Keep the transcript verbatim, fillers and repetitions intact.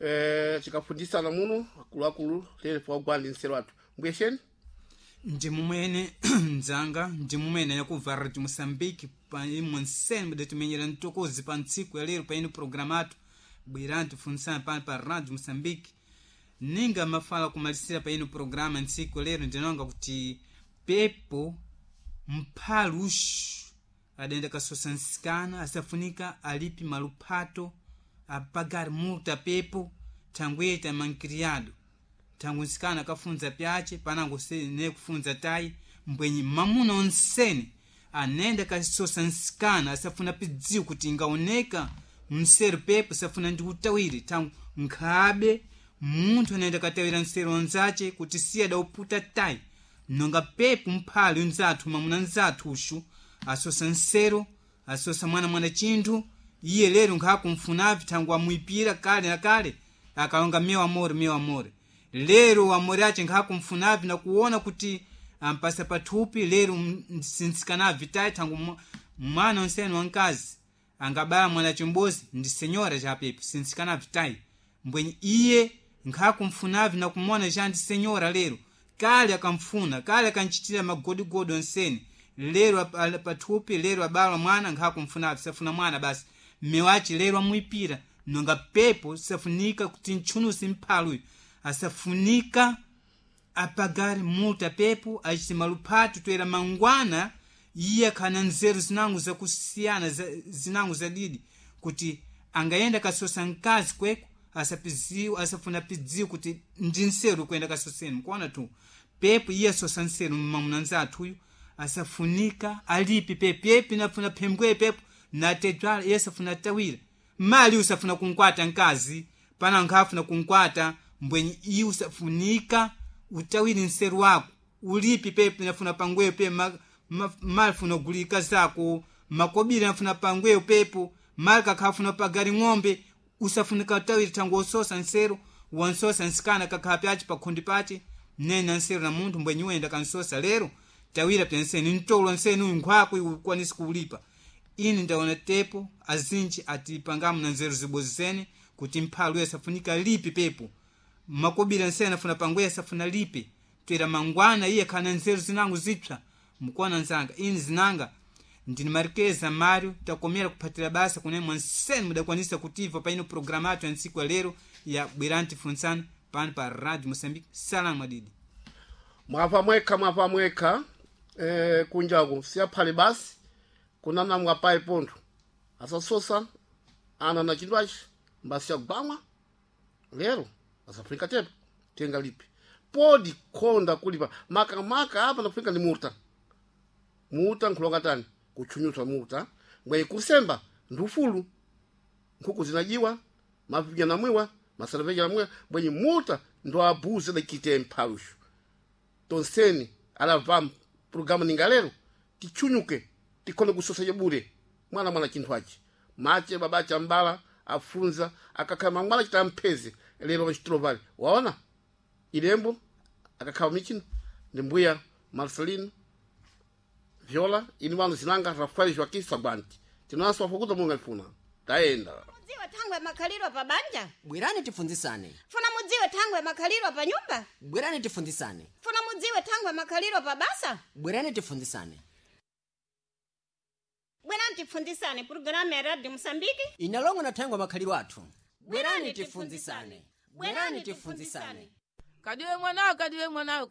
eh, tikafundisana muno akuluakulu lero pawagwandi nsero athu mbwesheni. Ndi mumwene mdzanga, ndi mumwene yakubva Radio Moçambique pa imwe nsene mudatimenyera mtokozi pa ntsiku ya lero pa ino programa athu bwerani tifunitsane pano pa Radio Moçambique. Ninga mafala kumalisira pa ino programa ntsiku ya lero, ndinonga kuti pepo mphaluxu adayenda kasosa nsikana asafunika alipi maluphato apagare multa pepo thangweta mankiriado thangu nsikana akafunza pyace panango ne kufunza tayi mbwenyi mamuna onsene anenda kasosa nsikana asafuna pidziwo kuti ingaoneka mseru pepo safuna ndi utawire thangu nkhabe munthu anayenda katawira mseru onzace kuti siye adauputa tayi nonga pepo mphali unzathu mamuna nzathu uxu asosa nsero asosa mwana mwana chinthu iye lero nkhakumfunavi thangu amwipira kale na kale akalonga meu amore, meu amore, lero amore ace nkhakumfunavi nakuona kuti ampasa pathupi lero sinsikanavi tayi thangu mwana onsene wankazi angabala mwana chimbozi ndi senyora chapepo sinsikanavi tayi mbwenyi iye nkhakumfunavi nakumona cha ndi senyora lero kale akamfuna kale akanchitira magodigodi onsene lero pathupi lero abala mwana nkhakumfunavi safuna mwana basi mmewace lero amwipira nonga pepo safunika kuti ntchunusi mphaluyo asafunika apagare multa pepo achite maluphato toera mangwana iye akhana nzeru zinango zakusiyana zinango zadidi kuti angayenda kasosa mkazi kweko asapiziwa asafuna pidziwa kuti ndi nseru kuyenda kasoseni mkuona tu pepo iye asosa nseru mmamuna nzathuyu asafunika alipi pepo yepi nafuna phembwe pepo natedzwala iye asafuna tawira mali usafuna kunkwata mkazi pana nkhafuna kunkwata mbwenyi iye usafunika utawiri nseru wako ulipi pepo nafuna pangweyo pe ma, ma, mali funa gulika zako makobiri nafuna pangweyo pepo mali kakhafuna pagari ng'ombe usafunika utawiri thangu ososa nseru wansosa nsikana kakhala pyace pakhundi pace nena nseru na munthu mbwenyi uyenda kansosa lero tawira pyenseni ntolo nseni uyu nkhwako iwe ukwanisi kuulipa. Ini ndaona tepo azinji atipangamu na nzeru zibozi zene kuti mphalu uyo asafunika lipi pepo makobiri nsene afuna pangweya asafuna lipi toera mangwana iye khana nzeru zinango zipsa mkuona nzanga ini zinanga ndini Marqueza Mário takomera kuphatira basa kunemwa nsene mudakwanisa kutiva pa ino programa athu ya ntsiku ya lero ya bwerani tifuntsane pano pa Radio Moçambique. Salamu adidi. Mwapha mwekha mwapha mwekha eh, kunjaku siyaphale basi kunana mwapayi pontho asasosa ana na chinthu achi mbasiyagwamwa lero asafunika tepo tenga lipi podi khonda kulipa makamaka apa nafunika ni murta muta nkhulonga tani kuchunyusa muta mwenye kusemba ndufulu nkhuku zinajiwa mavinya namwiwa masalaveja namwiwa mwenye muta ndo abuze dakite mphalushu tonseni alavaa programu ninga lero tichunyuke tikhone kusosa bure mwana mwana chinthu achi mache babache ambala afunza akakhala mangwana chita mpheze lero pachitulo pale waona ilembo akakhala michino ndi mbuya Marcelino Viola ini wanu zinanga Rafael Joaquim Sagwanti tinonso wafukuza Mulungu alifuna tayenda. Mudziwe thangwe makhaliro pa banja. Bwerani tifunzisane. Funa mudziwe thangwe makhaliro pa nyumba. Bwerani tifunzisane. Funa mudziwe thangwe makhaliro pa basa. Bwerani tifunzisane. Bwerani tifunzisane programu ya Radio Mosambiki inalongo na thangwe makhaliro athu. Bwerani tifunzisane. Bwerani tifunzisane. Kadiwe mwanawo, kadiwe mwanawo.